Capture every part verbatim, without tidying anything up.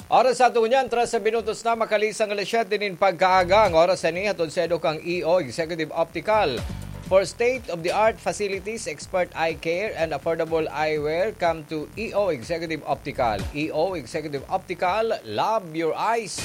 Oras sa ato ngunyan, trese minutos na makalisang alas siyete nin pagkaaga. Ang oras na ini hatod sa edo kan E O Executive Optical. For state-of-the-art facilities, expert eye care, and affordable eyewear, come to E O Executive Optical. E O Executive Optical, love your eyes.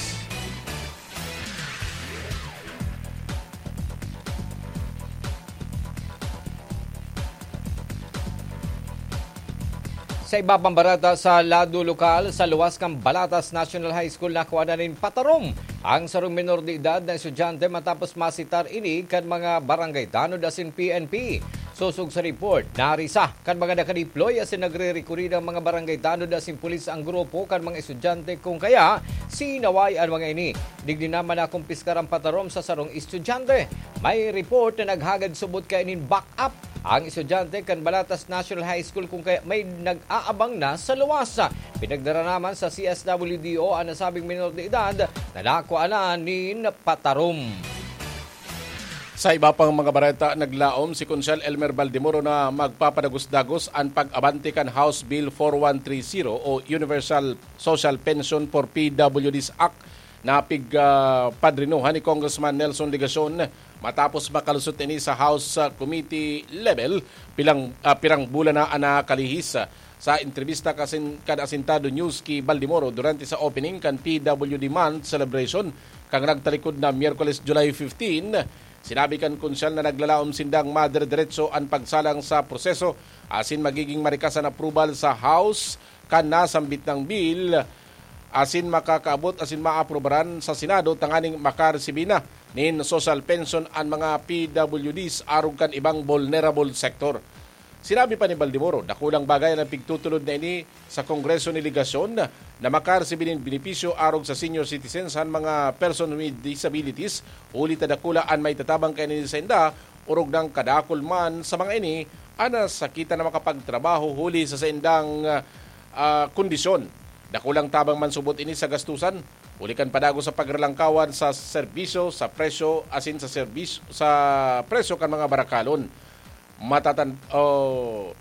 Sa iba pang bareta sa lado lokal, sa luwas kan Balatas National High School, nakua na nin patarom ang sarong menor de edad na estudyante matapos masitar ini kan mga barangay tanod asin P N P. Sosog sa report, narisa kan mga nakadeploy asin nagre-rekurida ang mga barangay tanod asin pulis ang grupo kan mga estudyante, kung kaya sinaway an mga ini. Digdi naman nakumpiskar ang patarom sa sarong estudyante. May report na naghagad subot kaini nin backup ang estudyante kan Balatas National High School, kung kaya may nag-aabang na sa luwas. Pinagdara naman sa C S W D O an nasabing menor de edad na nakuha na nin patarom. Sa iba pang mga bareta, naglaom si Konsehal Elmer Baldemoro na magpapadagos-dagos an pag-abante kan House Bill four one three zero o Universal Social Pension for P W Ds Act na pig, ah, padrinohan ni Congressman Nelson Legacion matapos makalusot ini sa House, ah, committee level pilang, ah, pirang bulan na an nakalihis. Sa entrebista kasin, kan Asintado News ki Baldemoro durante sa opening kan P W D Month celebration kan nagtalikod na Miyerkules, July fifteen, sinabi kan Konsehal na naglalaom sindang madire-diretso an pagsalang sa proseso asin magiging marikas an approval sa House kan nasambit na bill asin makakaabot asin maaprubaran sa Senado tanganing makaresibi na nin social pension an mga P W Ds arog kan ibang vulnerable sector. Sinabi pa ni Baldemoro, dakulang bagay an pigtutulod na ini sa Kongreso ni Legacion na makaresibi nin benepisyo arog sa senior citizens an mga person with disabilities, huli ta dakula an maitatabang kaini sainda, orog nang kadakul man sa mga ini an nasakitan na makapagtrabaho huli sa saindang, ah, kondisyon. Dakulang tabang man subot ini sa gastusan, huli kan padagos sa pagralangkawan sa serbisyo, sa presyo, asin sa serbisyo, sa presyo kan mga barakalon. Matatan-, o,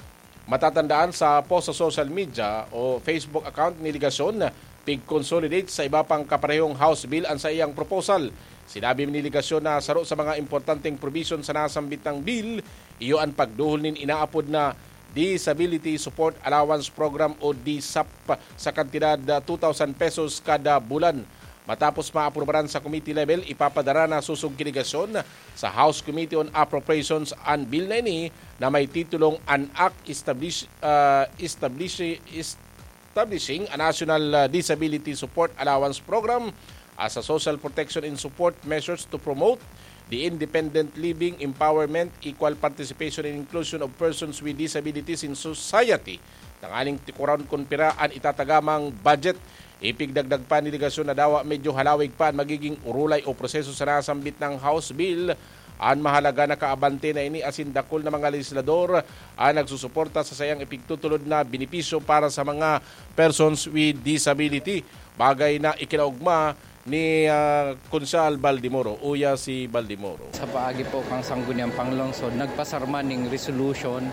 matatandaan sa post sa social media o Facebook account ni Legacion, pig-consolidate sa iba pang kaparehong House Bill an saiyang proposal. Sinabi ni Legacion na saro sa mga importanteng provision sa nasambit na bill, iyo an pagduhol nin inaapod na Disability Support Allowance Program o D S A P sa kantidad na two thousand pesos kada bulan. Matapos maaprubaran sa committee level, ipapadara na sosog ki Legacion sa House Committee on Appropriations an bill na ini na may titulong An Act Establish, ah, Establish, Establishing a National, ah, Disability Support Allowance Program as a social protection and support measures to promote the independent living, empowerment, equal participation and inclusion of persons with disabilities in society. Tanganing tikuran kun pira an itatagamang budget. Ipigdagdag pa ni Legacion na dawa medyo halawig pa an magiging urulay o proseso sa nasambit na House Bill. An mahalaga, nakaabante na ini asin dakul na mga legislador an nagsusuporta sa saiyang ipigtutulod na benepisyo para sa mga persons with disability, bagay na ikinaogma ni, ah, Konsehal Baldemoro. Uya si Baldemoro. Sa paagi po kan Sangguniang Panglungsod, nagpasarman ning resolution,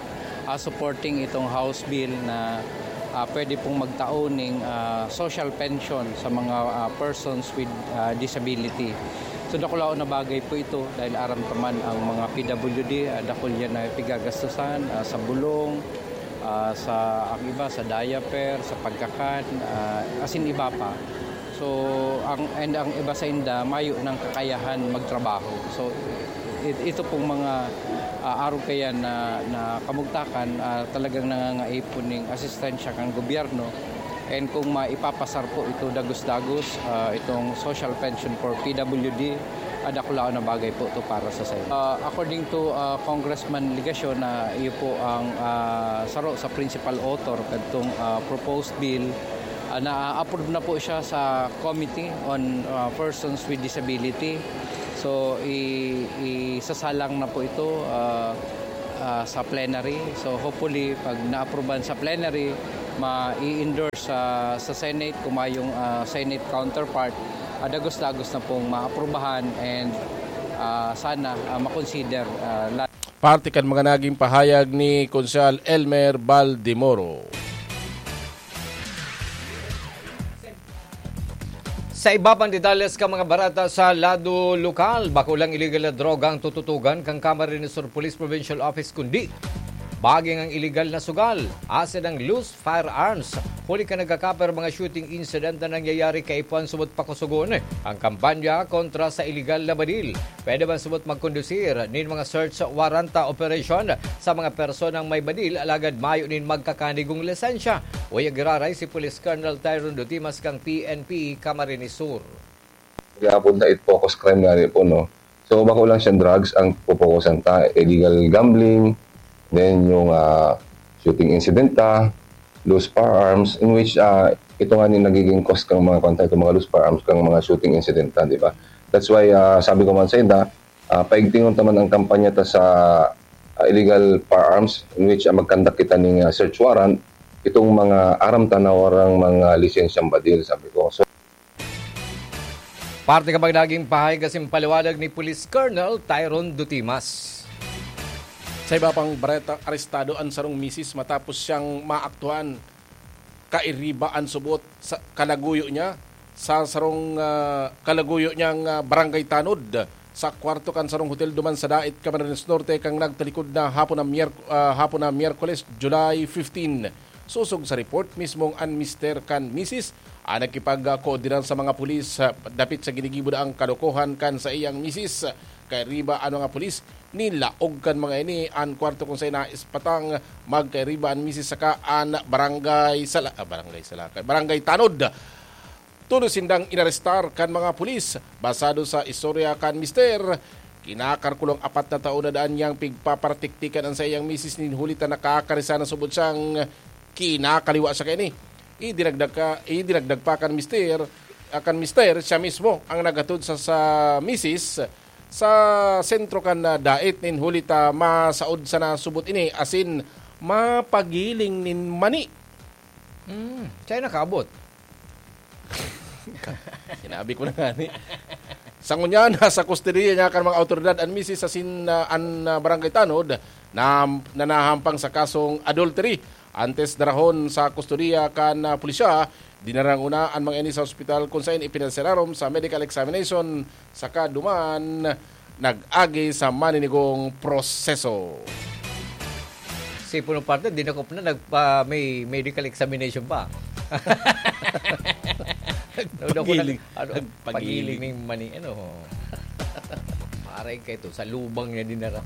ah, supporting itong House Bill na, ah, pwede pong magtao ning, ah, social pension sa mga, ah, persons with, ah, disability. So, dakulaon na bagay po ito dahil aram ta man ang mga P W D, ah, dakul yan na pigagastusan, ah, sa bulong, ah, sa, ang iba sa diaper, sa pagkakan, ah, asin iba pa. So, ang, and ang iba sa inda, mayo ng kakayahan magtrabaho. So, it-, ito pong mga, ah, arog kaya na, na kamugtakan, ah, talagang nangangaipon ning asistensya kan gobyerno. And kung maipapasar po ito dagos-dagos, ah, itong social pension for P W D, ah, dakulaon na bagay po ito para sa sayo. Ah, according to, ah, Congressman Legacion, na iyo po ang, ah, saro sa principal author kadtong, ah, proposed bill, ah, na-approve na po siya sa Committee on, ah, Persons with Disability. So, i-, isasalang na po ito, ah, ah, sa plenary. So, hopefully, pag naaprubahan sa plenary, ma-i-endorse sa, sa Senate, kung mayong, ah, Senate counterpart, ah, dagos-dagos na pong maaprubahan and, ah, sana, ah, makonsider, ah, la- Parte kan mga naging pahayag ni Konsehal Elmer Baldemoro. Sa iba pang detalles kan mga bareta sa lado lokal, bako lang iligal na droga ang tututugan kan Camarines Sur Police Provincial Office, kundi baging ang iligal na sugal, asin ang loose firearms. Huli kan nagkakaper mga shooting incident na nangyayari kaipuhan subot pakusugon ang kampanya kontra sa iligal na badil. Pwede man subot magkondusir nin mga search warrant operation sa mga personang may badil alagad mayo nin magkakanigong lisensya. Uya giraray si Police Colonel Tyron Dutimas kan P N P Camarines Sur. Gihapon na it focus crime nga po, no? So, bako lang siyang drugs ang pupokusan ta. Illegal gambling, then yung ah, shooting incident ta, loose firearms, in which ah, ito nga ni nagiging cause kang mga kontra, itong mga loose firearms kang mga shooting incident ta, di ba? That's why ah, sabi ko man sa inda, ah, paigtingon ta man ang kampanya ta sa ah, illegal firearms, in which ah, magkandak kita ning ah, search warrant, itong mga aram ta na warang mga lisensyang badil, sabi ko. So, Parte ka bang naging pahayag asin paliwanag ni Police Colonel Tyron Dutimas? Sa iba pang bareta, arestado an sarong misis matapos siyang maaktuhan kairiba an subot sa kalaguyo niya sa sarong ah, kalaguyo niyang ah, barangay tanod sa kwarto kan sarong hotel duman sa Dait, Camarines Norte, kan nagtalikod na hapon na Miyerk- ah, hapon na Miyerkules, July fifteen. Sosog sa report, mismong an mister kan misis ang nakipagkoordinar sa mga pulis ah, dapit sa ginigibo na ang kalokohan kan saiyang misis. Kairiba an mga pulis, nilaog kan mga ini an kwarto kung saen naispatang magkairiba an misis saka an barangay Sala, ah, barangay Salakay, barangay Tanod. Tolos sindang inarestar kan mga pulis. Basado sa istorya kan mister, kinakarkulong apat na taon na daan niyang pigpaparatiktikan an saiyang misis nin huli ta nakakarisan na subot siyang kinakaliwa siya kaini. Idinagdag, ka, idinagdag pa kan mister, ah, kan mister, siya mismo ang naghatod sa, sa misis sa sentro kan ah, Dait nin huli ta masaod sana subot ini asin mapagiling nin mani. Hmm, siya nakaabot. Sinabi ko na nga ni. Sa ngunyan, nasa kustodiya niya kan mga awtoridad an misis asin ah, an ah, barangay tanod na, na nahampang sa kasong adultery. Antes darahon sa kustodiya kan ah, pulisya, dinarang una an mga ini sa ospital kung saen ipinasirarom sa medical examination saka duman nag-agi sa maninigong proseso. Si Puno Partner, dinakop na, nagpa, may medical examination pa. Nagpagiling. Ano, nagpagiling. Pagiling na yung mani, ano. Aray ka ito, sa lubang niya dinara.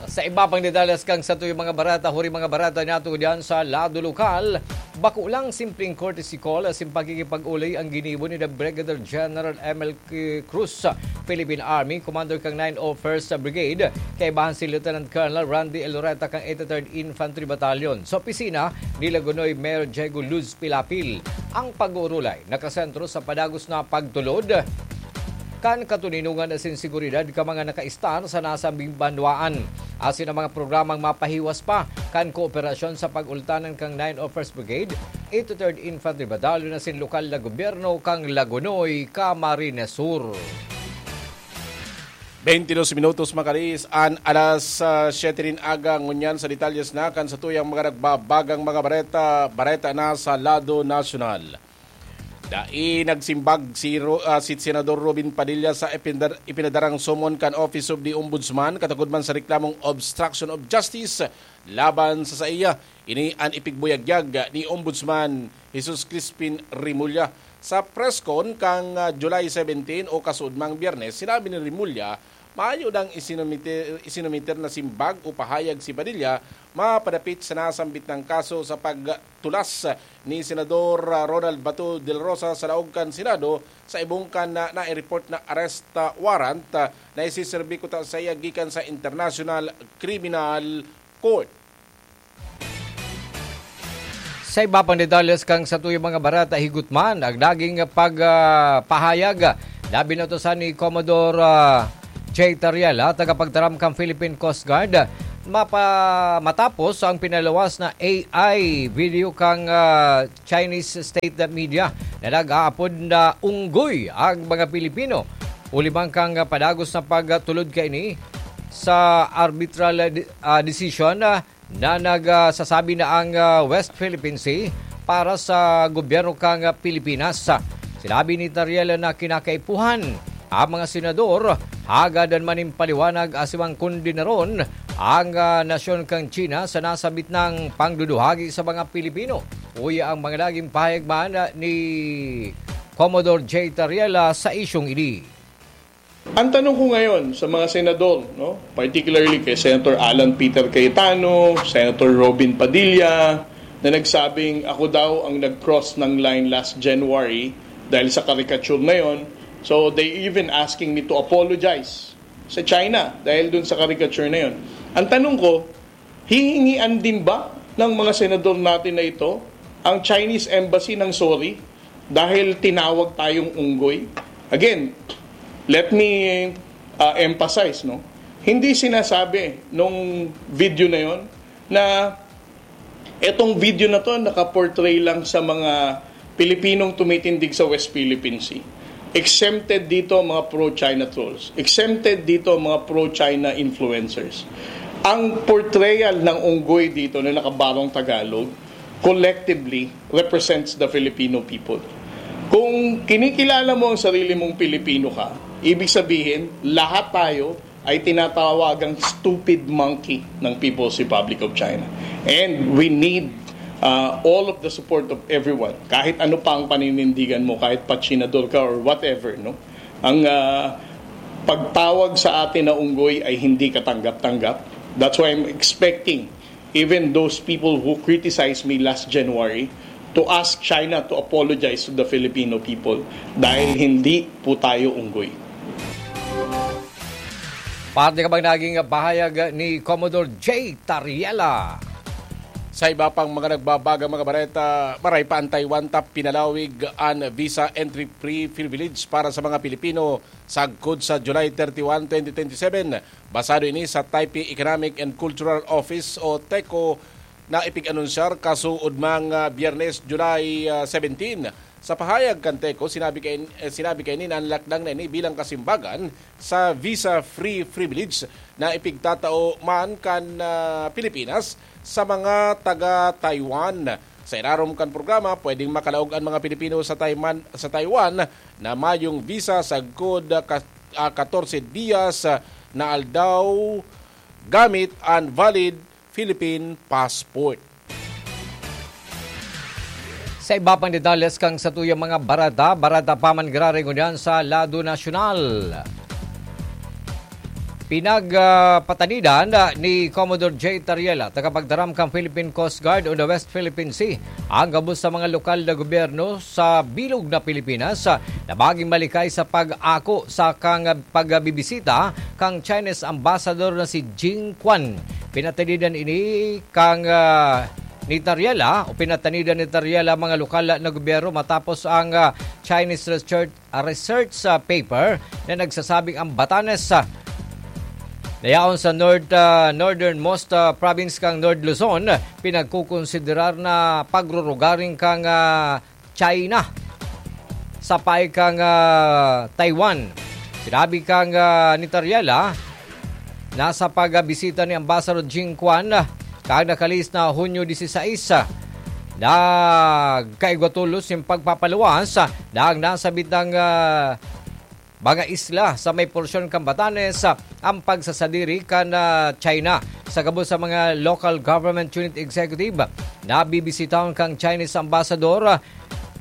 Sa iba pang detalles kang sa tuyong mga barata, huri mga barata nato diyan sa lado lokal, bako lang simpleng courtesy call, asin pakikipag-ulay ang ginibo ni the Brigadier General M L K Cruz, Philippine Army, Commander kang nine oh first Brigade, kaibahan si Lieutenant Colonel Randy Eloreta kang eighty-third Infantry Battalion, sa opisina ni Lagunoy Mayor Diego Luz Pilapil. Ang pag-uurulay nakasentro sa padagos na pagtulod kan katoninongan asin seguridad ka mga nakaistar sa nasabing banwaan, asin ang mga programang mapahiwas pa kan kooperasyon sa pag-ultanan kang nine oh first Brigade, eighty-third Infantry Battalion asin lokal na gobyerno kang Lagonoy, Camarines Sur. Twenty-dos minutos makaliis an alas ah, siyete nin aga, ngunyan sa detalles na kan sa tuyang mga nagbabagang mga bareta, bareta na sa lado nasyonal. Dai nagsimbag si, Ro, ah, si Senador Robin Padilla sa ipinadar, ipinadarang summon kan Office of the Ombudsman katagod man sa reklamong obstruction of justice laban sa saiya. Ini an ipigbuyagyag ni Ombudsman Jesus Crispin Remulla. Sa press con kang ah, July seventeen o kasuodmang Biyernes, sinabi ni Remulla, mayo nang isinumite, isinumiter na simbag o pahayag si Padilla mapadapit sa nasambit nang kaso sa pagtulas ni Senador ah, Ronald Bato del Rosa sa laog kan Senado sa ibong kan na nai-report na arrest ah, warrant ah, na isiserbi kuta saiya gikan sa International Criminal Court. Sa iba pang detalles kang sa tuyong mga barata, higot man ang naging pag, ah, pahayag na binutosan ni Commodore ah, Jay Tariela, tagapagtaram kang Philippine Coast Guard, mapa, matapos ang pinaluwas na A I video kang ah, Chinese state media na nag-aapod na unggoy ang mga Pilipino. Huli man kang padagos na pagtulod kaini sa arbitral ah, de- ah, decision ah, na nagsasabi na ang ah, West Philippine Sea para sa gobyerno kang ah, Pilipinas. Sinabi ni Tariela na kinakaipuhan ang mga senador hagad an manimpaliwanag asin mangkondenaron ang, ah, nasyon kan China sa nasabit nang pangduduhagi sa mga Pilipino. Uya ang mga naging pahayag man, ah, ni Commodore J Tariela sa isyong ini. Ang tanong ko ngayon sa mga senador, no, particularly kay Senator Alan Peter Cayetano, Senator Robin Padilla, na nagsabing ako daw ang nag-cross ng line last January dahil sa caricature na yon. So they even asking me to apologize sa China dahil dun sa caricature na yon. Ang tanong ko, hihingian din ba ng mga senador natin na ito ang Chinese embassy ng sorry dahil tinawag tayong unggoy? Again, let me, uh, emphasize, no? Hindi sinasabi nung video na yon na etong video na to nakaportray lang sa mga Pilipinong tumitindig sa West Philippine Sea. Exempted dito ang mga pro-China trolls. Exempted dito ang mga pro-China influencers. Ang portrayal ng unggoy dito na nakabarong Tagalog, collectively represents the Filipino people. Kung kinikilala mo ang sarili mong Pilipino ka, ibig sabihin, lahat tayo ay tinatawagang stupid monkey ng People's Republic of China. And we need, uh, all of the support of everyone. Kahit ano pa ang paninindigan mo, kahit patsinador ka or whatever, no? Ang, uh, pagtawag sa atin na unggoy ay hindi katanggap-tanggap. That's why I'm expecting even those people who criticized me last January to ask China to apologize to the Filipino people dahil hindi po tayo unggoy. Parte ka bang naging pahayag ni Commodore J Tariela? Sa iba pang mga nagbabagang mga bareta, maray pa ang Taiwan ta pinalawig an visa entry-free privilege para sa mga Pilipino sagkod sa July thirty-one, twenty twenty-seven. Basado ini sa Taipei Economic and Cultural Office o TECO na ipig-anunsyar kasuod mga Biyernes, July, ah, seventeen. Sa pahayag kan TECO, sinabi kay, eh, sinabi kaini na an lakdang na ini bilang kasimbagan sa visa-free privilege na ipigtatao man kan, ah, Pilipinas sa mga taga Taiwan. Sa ilarom kan programa, pwedeng makalaog an mga Pilipino sa Taiman-, sa Taiwan na mayong visa sagkod, ah, ka-, ah, katorse dias, ah, na aldaw gamit an valid Philippine passport. Sa iba pang detalles kan satuyang mga bareta, bareta pa man giraray ngunyan sa lado nasyonal. Pinag, ah, patanidan, ah, ni Commodore J Tariela, tagapagtaram kan Philippine Coast Guard o the West Philippine Sea, ang gabos sa mga lokal na gobyerno sa bilog na Pilipinas, ah, na maging malikay sa pag-ako sa kang pagbibisita kang Chinese ambassador na si Jing Quan. Pinatanidan ini kang, ah, ni Tariela o pinatanidan ni Tariela mga lokal na gobyerno matapos ang, ah, Chinese research, ah, research, ah, paper na nagsasabing ang Batanes, ah, na yaon sa north, ah, northernmost, ah, province kang North Luzon, pinagkukonsiderar na pagrurugaring kang, ah, China sa payo kang, ah, Taiwan. Sinabi kang, ah, ni Tariela, nasa pagbisita ni Ambassador Jing Quan, ah, kang nakalihis na Hunyo diseseis, ah, nagkaigwa tolos nin pagpapaluwas, ah, na ang nasabit nang, ah, mga isla sa may porsyon kan Batanes, ah, ang pagsasadiri kan, ah, China. Sa gabos sa mga local government unit executive, nabibisitahon kang Chinese ambassador, ah,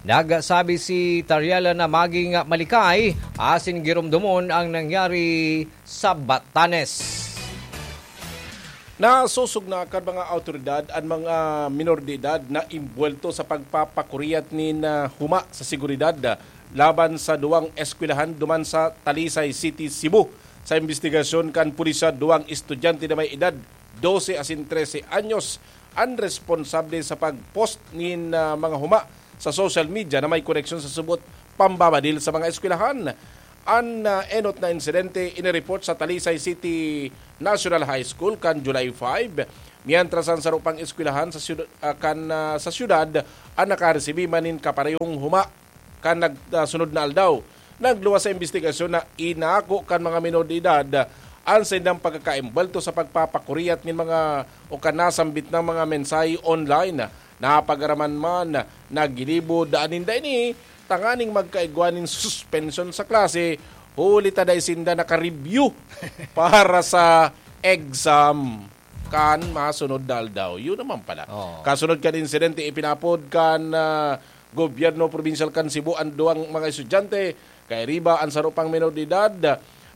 nagsabi si Tariela na maging malikay asin giromdomon ang nangyari sa Batanes. Nasosog na kan mga awtoridad an mga minor de edad na imbuwelto sa pagpapakuriat nin, ah, huma sa seguridad, ah, laban sa duwang eskwelahan duman sa Talisay City, Cebu. Sa imbestigasyon kan pulisya, duwang estudyante na may edad dose asin trese anyos an responsable sa pag-post nin, ah, mga huma sa social media na may koneksyon sa subot pambabadil sa mga eskwelahan. An, ah, enot na insidente inireport sa Talisay City National High School kan July five, mientras an saro pang eskwelahan sa syud-, ah, kan, ah, sa syudad an nakaresibi man nin kaparehong huma kan nag-, ah, sunod na aldaw. Nagluwas sa imbestigasyon na inako kan mga minor de edad an saindang pagkakaembuwelto sa pagpapakuriat nin mga o kan nasambit na mga mensahe online. Napag-araman man na ginibo daan ninda ini tanganing magkaigwa nin suspension sa klase, huli ta dai sinda naka-review para sa exam kan masunod na aldaw. Yun naman pala. Oo. Kasunod kan insidente, ipinapod kan, ah, gobyerno probinsyal kan Cebu an duwang mga estudyante. Kairiba an saro pang menor de edad,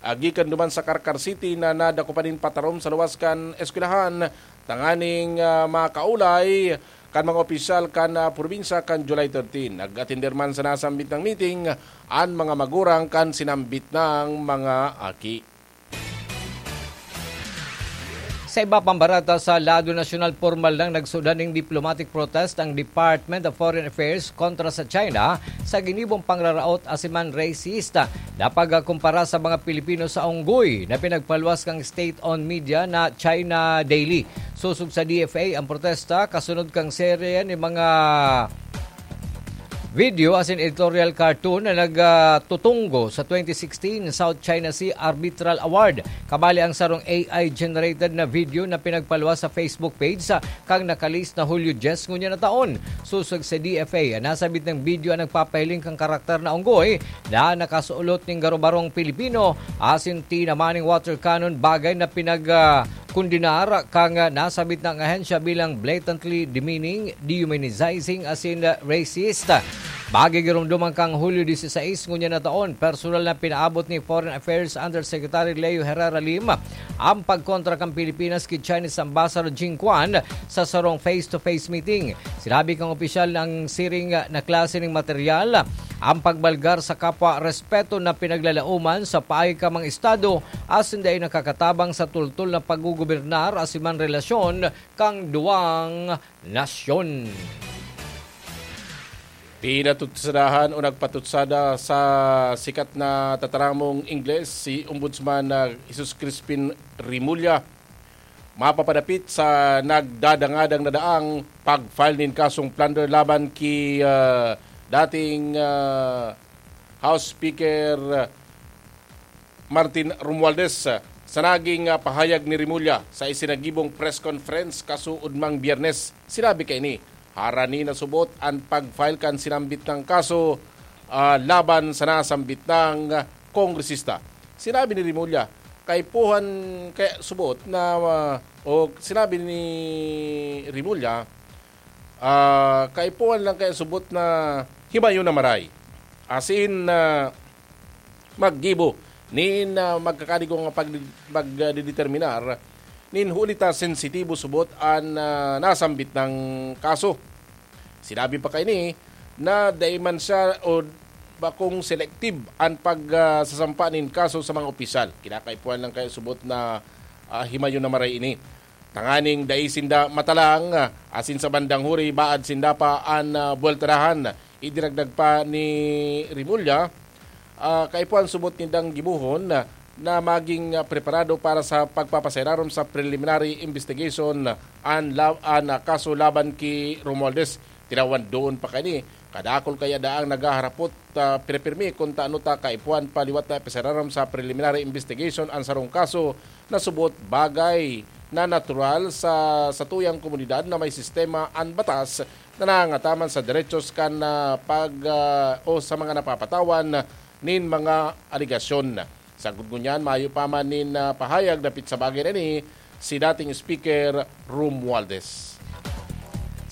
ah, gikan duman sa Carcar City na nadakupan nin patarom sa luwas kan eskwelahan tanganing, ah, makaulay kan mga opisyal kan, ah, probinsya kan July thirteen. Nag-atender man sa nasambit na meeting an mga magurang kan sinambit na mga aki. Sa iba pang bareta, sa lado nasyonal, pormal nang nagsudan ning diplomatic protest ang Department of Foreign Affairs kontra sa China sa ginibong pangraraot asin man racist na pagkumpara sa mga Pilipino sa unggoy na pinagpaluwas kan state-owned media na China Daily. Sosog sa D F A ang protesta kasunod kan serye nin mga video asin editorial cartoon na nagtutunggo sa twenty sixteen South China Sea Arbitral Award. Kabali ang sarong A I-generated na video na pinagpaluwas sa Facebook page sa kan nakalis na Hulyo dyes ngunyan na taon. Sosog sa D F A, an nasambit na video an nagpapahiling kan karakter na unggoy na nakasulot nin garo-barong Pilipino asin tinaman nin water cannon, bagay na pinag, ah, kondenar kan, ah, nasambit na ahensya bilang blatantly demeaning, dehumanizing asin, ah, racist. Magigiromdoman kan Hulyo dieciséis ngunyan na taon, personal na pinaabot ni Foreign Affairs Undersecretary Leo Herrera Lim ang pagkontra kan Pilipinas ki Chinese Ambassador Jing Quan sa sarong face-to-face meeting. Sinabi kan opisyal na an siring na klase nin material, ang pagbalgar sa kapwa, respeto na pinaglalaoman sa paagi kan mga estado asin dai nakakatabang sa tultol na paggugobernar asin man relasyon kan duwang nasyon. Pinatutsadahan o nagpatutsada sa sikat na tataramong Ingles si Ombudsman na Jesus Crispin Remulla, mapapadapit sa nagdadangadang na daang pag-file nin kasong plunder laban ki, ah, dating, ah, House Speaker Martin Romualdez. Sa naging, ah, pahayag ni Remulla sa isinagibong press conference kasuodmang Biyernes, sinabi kaini, harani na subot an pag-file kan sinambit na kaso, ah, laban sa nasambit na kongresista. Sinabi ni Remulla, kaipuhan kaya subot na, ah, o sinabi ni Remulla, ah, kaipuhan lang kaya subot na himayon na maray. As in, ah, maggibo nin, ah, magkakadigong pag-, pagdedeterminar nin huli ta sensitibo subot an, ah, nasambit na kaso. Sinabi pa kaini na dai man siya o bakong selective an pag, ah, sasampa nin kaso sa mga opisyal. Kinakaipuhan lang kaya subot na, ah, himayon na maray ini. Tanganing dai sinda matalang, ah, asin sa bandang huri, baad sinda pa an, ah, buweltarahan. Idinagdag pa ni Remulla, ah, kaipuhan subot nindang gibohon na, na maging, ah, preparado para sa pagpapasay-rarom sa preliminary investigation an la-, an, ah, kaso laban ki Romualdez. Tinawan doon pa kaini, kadakul kaya daang naghaharapot, ah, pirpirmi kun tano ta kaipuhan pa liwat na ipasay-rarom sa preliminary investigation an sarong kaso na subot bagay na natural sa satuyang komunidad na may sistema an batas na nangangataman sa derechos kan, ah, pag, ah, o sa mga napapatawan nin mga alegasyon. Sagkod ngunyan, mayo pa man nin, ah, pahayag dapit sa bagay na ini si dating Speaker Romualdez.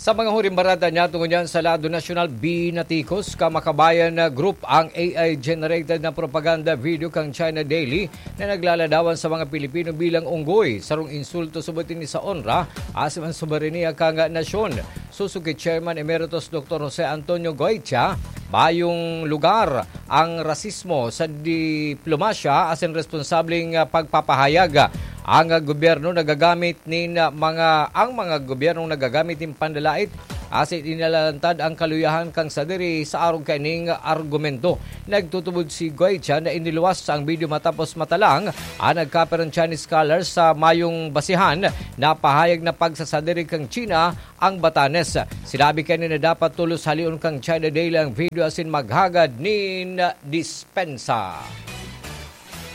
Sa mga huring bareta niyato ngunyan sa lado nasyonal, binatikos kan Makabayan na Group ang A I-generated na propaganda video kan China Daily na naglaladawan sa mga Pilipino bilang unggoy, sarong insulto subot ini sa onra asin an soberanya kan nasyon. Sosog ki Chairman Emeritus Doktor Jose Antonio Goitia, mayong lugar ang rasismo sa diplomasya asin responsableng, ah, pagpapahayag. Ang, ah, gobyerno nagagamit nin, ah, mga, ang mga gobyernong nagagamit nin panlalait asin inalalantad ang kaluyahan kan sadiri sa arog kaining argumento. Nagtutubod si Goitia na iniluwas ang video matapos matalang an nagkaperang Chinese scholars sa mayong basihan na pahayag na pagsasadiri kan China ang Batanes. Sinabi kaini na dapat tolos haleon kan China Daily ang video asin maghagad nin dispensa.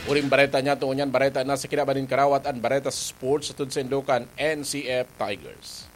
Huring bareta niyato ngunyan, bareta na sa kinaban nin karawat, an bareta sa sports, atod saindo kan N C F Tigers.